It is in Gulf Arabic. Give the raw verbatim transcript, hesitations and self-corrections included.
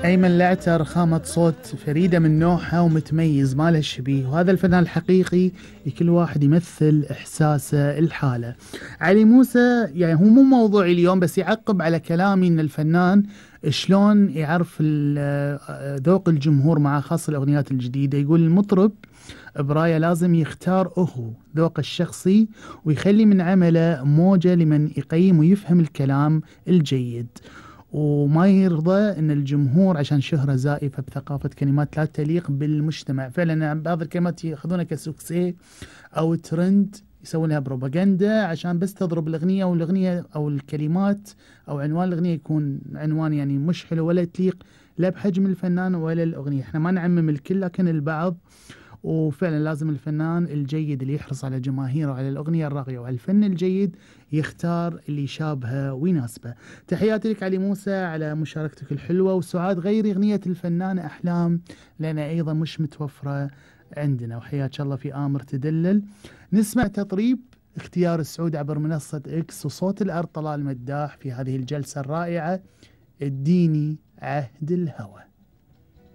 أيمن الأعتر خامة صوت فريدة من نوعها ومتميز ما له شبيه، وهذا الفنان الحقيقي كل واحد يمثل إحساسه الحالة. علي موسى يعني هو مو موضوعي اليوم، بس يعقب على كلامي إن الفنان شلون يعرف ال- ذوق الجمهور مع خاصة الأغنيات الجديدة. يقول المطرب براية لازم يختار هو ذوق الشخصي ويخلي من عمله موجة لمن يقيم ويفهم الكلام الجيد، وما يرضى ان الجمهور عشان شهرة زائفة بثقافة كلمات لا تليق بالمجتمع. فعلا بعض الكلمات ياخذونها كسوكسي او ترند، يسوون لها بروباغندا عشان بس تضرب الاغنية، والاغنية او الكلمات او عنوان الاغنية يكون عنوان يعني مش حلو ولا تليق لا بحجم الفنان ولا الاغنية. احنا ما نعمم الكل لكن البعض. وفعلا لازم الفنان الجيد اللي يحرص على جماهيره وعلى الأغنية الراقية وعلى الفن الجيد يختار اللي يشابهه ويناسبه. تحياتي لك علي موسى على مشاركتك الحلوة، وسعاد غيري أغنية الفنانة أحلام لأنها أيضا مش متوفرة عندنا. وحياك الله في آمر تدلل. نسمع تطريب اختيار السعود عبر منصة إكس وصوت الأرض طلال مداح في هذه الجلسة الرائعة اديني عهد الهوى.